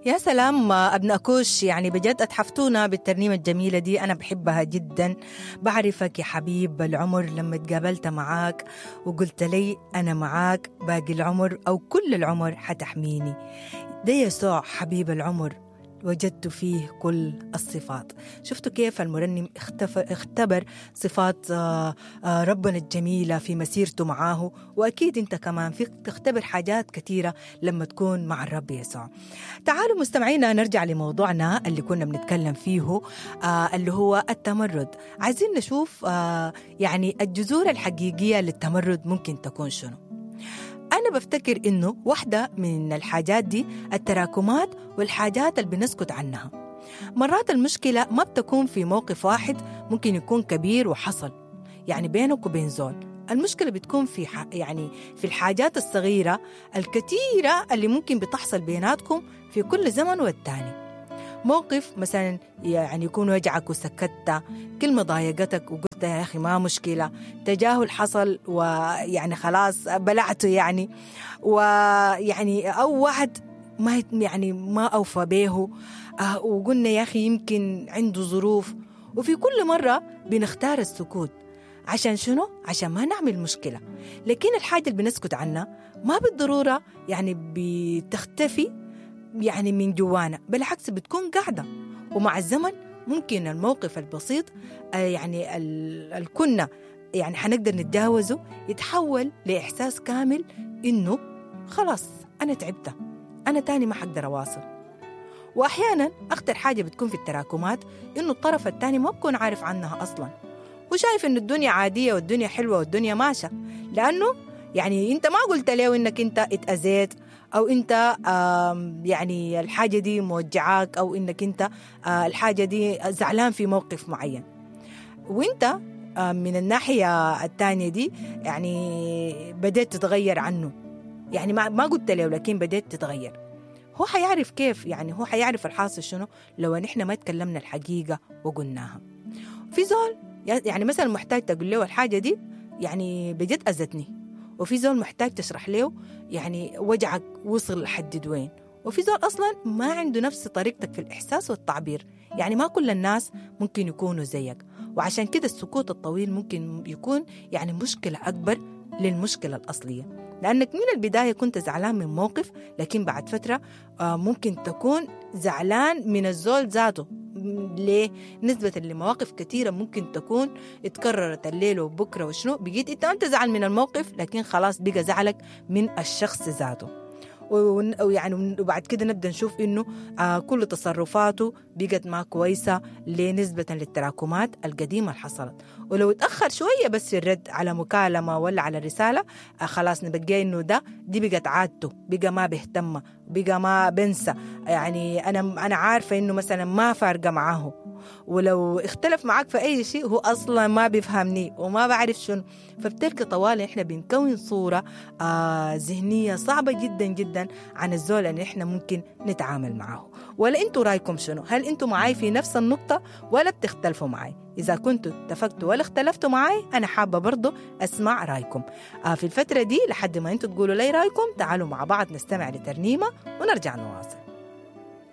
يا سلام أبناء كوش، يعني بجد أتحفتونا بالترنيمة الجميلة دي، أنا بحبها جدا. بعرفك يا حبيب العمر لما تقابلت معاك وقلت لي أنا معاك باقي العمر أو كل العمر حتحميني. ده يسوع حبيب العمر وجدت فيه كل الصفات. شفتوا كيف المرنم اختبر صفات ربنا الجميلة في مسيرته معاه، وأكيد أنت كمان فيك تختبر حاجات كثيرة لما تكون مع الرب يسوع. تعالوا مستمعينا نرجع لموضوعنا اللي كنا بنتكلم فيه اللي هو التمرد. عايزين نشوف يعني الجذور الحقيقية للتمرد ممكن تكون شنو. أنا بفتكر إنه واحدة من الحاجات دي التراكمات والحاجات اللي بنسكت عنها. مرات المشكلة ما بتكون في موقف واحد، ممكن يكون كبير وحصل يعني بينك وبين زول. المشكلة بتكون في يعني في الحاجات الصغيرة الكثيرة اللي ممكن بتحصل بيناتكم في كل زمن والتاني. موقف مثلا يعني يكون وجعك وسكتت، كلمة ضايقتك وقلت يا أخي ما مشكلة، تجاهل حصل ويعني خلاص بلعته يعني، ويعني أو واحد ما يعني ما أوفى به وقلنا يا أخي يمكن عنده ظروف. وفي كل مرة بنختار السكوت عشان شنو؟ عشان ما نعمل مشكلة. لكن الحاجة اللي بنسكت عنها ما بالضرورة يعني بتختفي يعني من جوانا، بالعكس بتكون قاعدة، ومع الزمن ممكن الموقف البسيط يعني الكنا يعني حنقدر نتجاوزه يتحول لإحساس كامل إنه خلاص أنا تعبت، أنا تاني ما حقدر أواصل. وأحيانا أخطر حاجة بتكون في التراكمات إنه الطرف التاني ما بكون عارف عنها أصلا، وشايف إنه الدنيا عادية والدنيا حلوة والدنيا ماشية، لأنه يعني أنت ما قلت له إنك أنت اتأذيت أو أنت يعني الحاجة دي موجعاك، أو إنك أنت الحاجة دي زعلان في موقف معين. وأنت من الناحية الثانية دي يعني بدأت تتغير عنه، يعني ما قلت له لكن بدأت تتغير. هو حيعرف كيف، يعني هو حيعرف الحاصل شنو لو نحن ما تكلمنا الحقيقة وقلناها. في زول يعني مثلا محتاج تقول له الحاجة دي يعني بجد أذتني، وفي زول محتاج تشرح له يعني وجعك وصل لحد وين، وفي زول أصلا ما عنده نفس طريقتك في الإحساس والتعبير. يعني ما كل الناس ممكن يكونوا زيك، وعشان كده السكوت الطويل ممكن يكون يعني مشكلة أكبر للمشكلة الأصلية، لأنك من البداية كنت زعلان من موقف، لكن بعد فترة ممكن تكون زعلان من الزول ذاته. ليه؟ نسبة لمواقف كثيرة ممكن تكون اتكررت الليل وبكرة وشنو، بقيت انت ما تزعل من الموقف، لكن خلاص بقى زعلك من الشخص ذاته. ويعني وبعد كده نبدأ نشوف إنه كل تصرفاته بقت ما كويسة لنسبة للتراكمات القديمة اللي حصلت. ولو اتأخر شوية بس في الرد على مكالمة ولا على رسالة خلاص نبقى إنه دي بقت عادته، بقى ما بيهتم، بقى ما بنسى، يعني أنا عارفة إنه مثلا ما فارقة معاه، ولو اختلف معاك في أي شيء هو أصلا ما بيفهمني وما بعرف شنو. فبتلك طوال إحنا بنكون صورة ذهنية صعبة جدا جدا عن الزول اللي إحنا ممكن نتعامل معاه. ولا أنتوا رأيكم شنو؟ هل أنتوا معاي في نفس النقطة ولا بتختلفوا معاي؟ إذا كنتوا اتفقتوا ولا اختلفتوا معاي أنا حابة برضو أسمع رأيكم في الفترة دي لحد ما أنتوا تقولوا لي رأيكم. تعالوا مع بعض نستمع لترنيمة ونرجع نواصل.